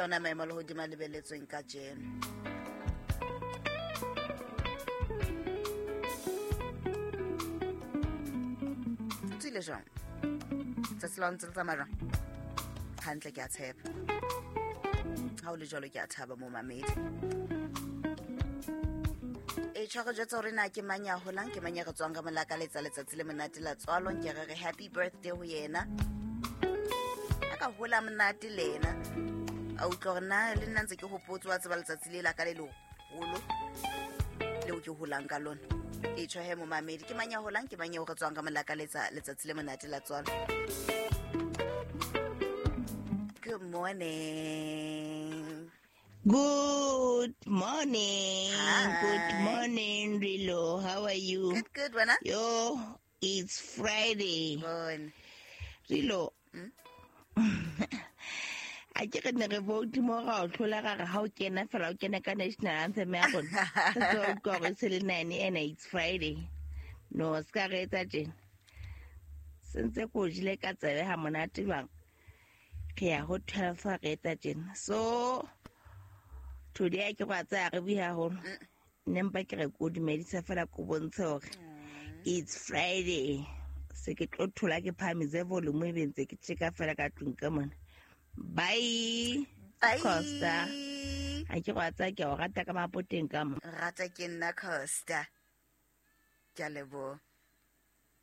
Ke yona maemo a lehodimo a lebeletsweng kajeno. O tswile jwang? Tsatsi la hao ntse le tsamaya jwang? Hantle, ke a tshepa. Ha o le jwalo, ke a thaba, momamedi. E tshware jwetsa hore na ke mang ya holang, ke mang ya re tswang ka molakaletsa letsatsi le monate la tswalo. Nke re re happy birthday ho yena. A ka hola monate le yena. A utlwa hore na le nna ntse ke hopotse wa tseba letsatsi le la ka le leholo leo ke holang ka lona. E tjho he, momamedi, ke mang ya holang, ke mang eo re tswang ka molakaletsa letsatsi le monate la tswalo? Good morning. Good morning. Hi. Good morning, Rilo. How are you? Good, good, wena? Yo, it's Friday. Bon. Rilo. A ke re ne re vote mo ra o tlhola, ra re ha o kena fela o kena ka national anthem ya rona. Re tlo utlwa hore se le 9 ena, it's Friday. No, se ka re etsa tjena. Sentse ko jile ka tsebe ha monate jwang. Re ya ho 12 ha re etsa tjena. So today ke go tsaya re bue haholo. Nne mpa ke re ko dumedisa fela, ko bontshe hore it's Friday. Se ke tlo thola ke phahamise volume, e be ntse ke tjeka fela ka tlung ka mona. Bye. Bye. Costa. Ha ke go tsaya, ke o rata ka mapoteng ka mo. Rata ke nna, Costa. Ke a leboha.